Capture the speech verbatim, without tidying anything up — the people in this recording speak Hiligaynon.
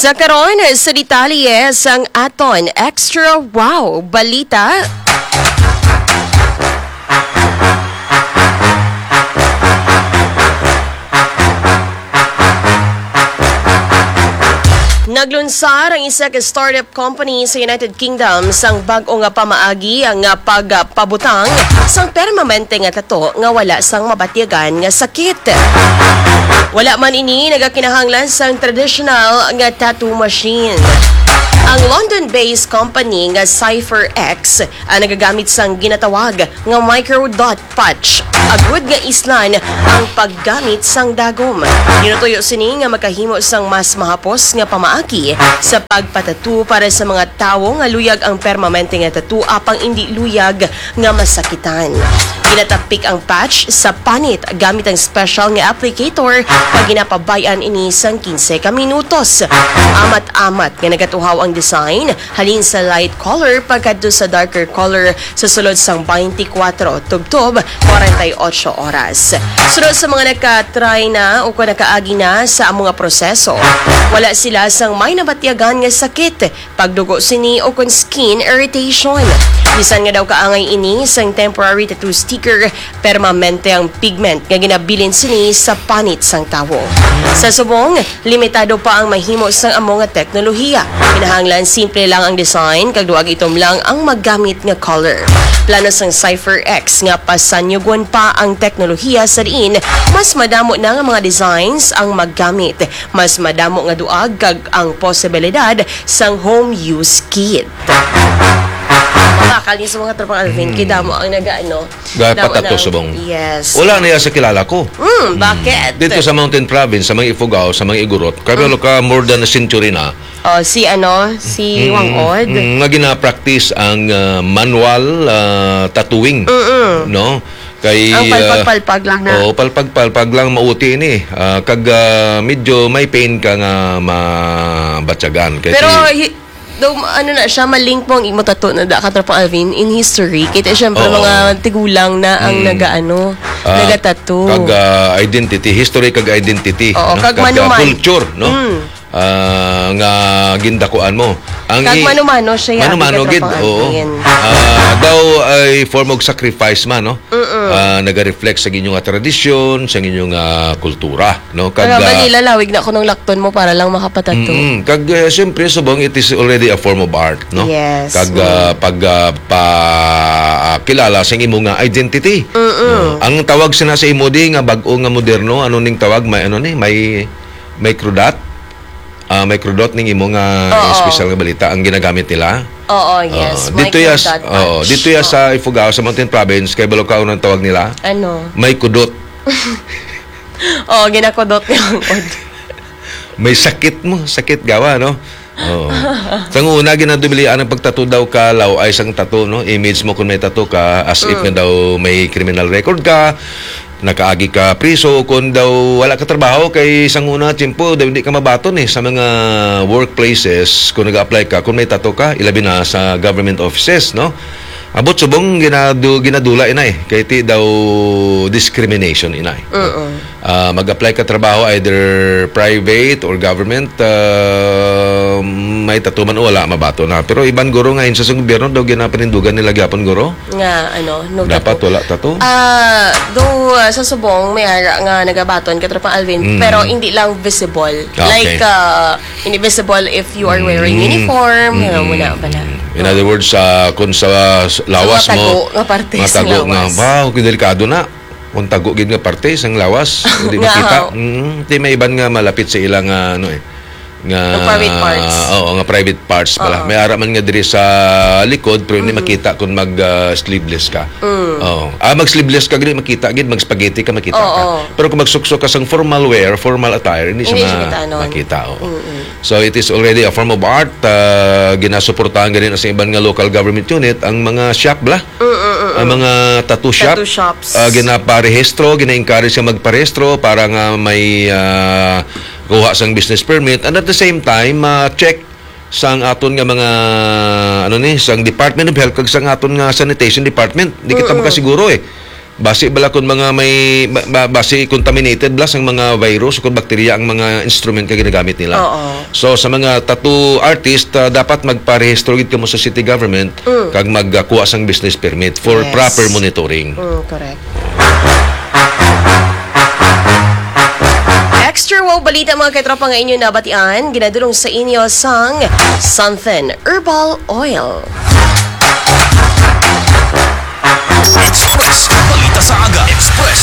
Sa karon, sa detalye sang aton Extra Wow Balita. Naglunsar ang isa ka startup company sa United Kingdom sang bag-o nga pamaagi nga pagpabutang sang permanente nga tato nga wala sang mabatyagan nga sakit. Wala man ini nagakinahanglan sang traditional nga tattoo machine. Ang London-based company nga Cypher X ang nagagamit sang ginatawag nga microdot patch, agud nga islan ang paggamit sang dagom. Ginatuyo sini nga makahimo sang mas mahapos nga pamaagi sa pagpatattoo para sa mga tawo nga luyag ang permanente nga tattoo apang indi luyag nga masakitan. Ginatapik ang patch sa panit gamit ang special nga applicator nga ginapabay-an ini sang quince ka minutos. Amat-amat nga nagatuhaw ang design halin sa light color pagkadto sa darker color sa sulod sang twenty-four tubtob forty-eight oras. Sunod sa mga naka-try na o kung nakaagi na sa amo nga proseso, wala sila sang may nabatyagan nga sakit, pagdugo sini o kon skin irritation. Bisan nga daw kaangay ini sang temporary tattoo sticker, permanente ang pigment nga ginabilin sini sa panit sang tawo. Sa subong, limitado pa ang mahimo sang amo nga teknolohiya. Kinahanglan simple lang ang design kag duag itom lang ang magamit nga color. Plano sang Cypher X nga pasanyugon pa ang teknolohiya sa diin mas madamo na nga mga designs ang magamit, mas madamo nga duag kag ang posibilidad sang home use kit. Bakal ni sa mga tropang Alvin, kay damo ang nag-ano, Gaya damo patato ang subong. Yes. Wala na yan sa kilala ko. Mm, bakit? Dito sa Mountain Province, sa mga Ifugao, sa mga Igorot, kabalo ka, more than a century na. Oh, si ano, si Mm, Wang Od. Mm, nga gina-practice ang ah, manual ah, tattooing, Mm-mm. no? Kay Ang ah, palpag-palpag lang na. Oo, palpag-palpag lang mauti ini. Ah, kag ah, medyo may pain ka nga mabatyagan. Kay Pero ti- hi- though, ano na siya, malink mo ang imo tattoo na da ka, Tropang Alvin, in history. Kay ti, syempre, Oo. mga tigulang na ang Mm. nagaano, Ah, nagatattoo. Kag ah, identity, history kag identity, Oo, no? kag Kag ah, manuman. culture, no? Mm. Ah, nga gindakuan mo. Ang Kag i- mano-mano siya, Mano-mano abi ka, gid, Tropang oo. Alvin. Ah, daw ay form of sacrifice man, no? Mm-mm. Ah, naga-reflect sa inyo nga tradisyon, sa inyo nga kultura, no? Kag Kag, ah, Manila, lawig na ko ng lakton mo para lang makapatato. Mm-mm. Kag ah, siyempre, subong, it is already a form of art, no? Yes. Kag ah, Mm. pag ah, pa ah, kilala sa imo nga identity. Mm-mm. No? Ang tawag sina sa imo di nga bag-o nga moderno, ano ning tawag? May ano ni? May microdot? Ah, microdot ning imo nga Oo. espesyal nga balita ang ginagamit nila? Oo, yes. Oo. Dito ya s- Microdot oo, patch. dito ya Oo. sa Ifugao, sa Mountain Province, kay Balocao ang tawag nila? Ano? May kudot. Oo, ginakudot niya ang kod. May sakit mo, sakit gawa, no? Oo. Sang una, ginadubilian ang pagtato daw ka law ay sang tato, no? Image mo kung may tato ka, as if Mm. nga daw may criminal record ka, nakaagi ka priso, o kung daw wala ka trabaho, kay sang una, tiyempo, daw hindi ka mabaton eh, sa mga workplaces, kung nag-apply ka, kung may tato ka, ilabi na sa government offices, no? Abot subong ginadu ginadula inay, kay ti daw discrimination inay. Mm-mm. Ah, mag-apply ka trabaho either private or government, ah, may tato man o wala, mabato na. Pero iban guro nga insa sa gobyerno daw ginapanindugan nila gyapon guro. Nga, ano, no Dapat tato. wala tato. Ah, though, ah, sa subong, may ara nga nagabaton, Katropa Alvin, Mm. pero hindi lang visible. Ah, okay. Like, ah, hindi visible if you are wearing Mm. uniform, Mm-mm. ano mo na pala. In other words, sa kung sa s- lawas Sa mga mo, tago nga parte mga sa tago nga, lawas. wow, delikado na. Kung tago gid nga parte sang lawas, hindi Nga, makita. haw. Mm, di may iban nga malapit sa ilang, ah, ano eh, nga Nga private parts. Oo, nga private parts pala. Oo. May ara man nga diri sa likod, pero hindi Mm. makita kung mag, ah, sleeveless ka. Mm. Oo. Ah, mag sleeveless ka, gid makita gid, mag spaghetti ka, makita ka. Oo. Pero kung magsuksok ka sang formal wear, formal attire, hindi siya Hindi siya ma- kita, no? makita, oo. Mm-mm. So, it is already a form of art. Ah, ginasuportahan gani sa iban nga local government unit ang mga shop bla. Mm, mm, mm, Ang mm. mga tattoo shop. Tattoo shops. Ah, ginaparehistro, gina-encourage nga magparehistro para nga may ah, kuha sang business permit. And at the same time, ah, check sang aton nga mga ano ni, sang Department of Health kag sang aton nga Sanitation Department. Di kita Mm-mm. makasiguro eh. Basi bala kung mga may ba- ba- basi contaminated bala sang mga virus o kung bakterya ang mga instrument nga ginagamit nila. Oo. So sa mga tattoo artist, ah, dapat magparehistro gid kamo sa city government kag magkuha sang business permit for Yes. proper monitoring. Mm, correct. Extra wow balita, mga katropa, nga inyo nabatian, ginadulong sa inyo sang Something Herbal Oil. Express Balita sa Aga. Express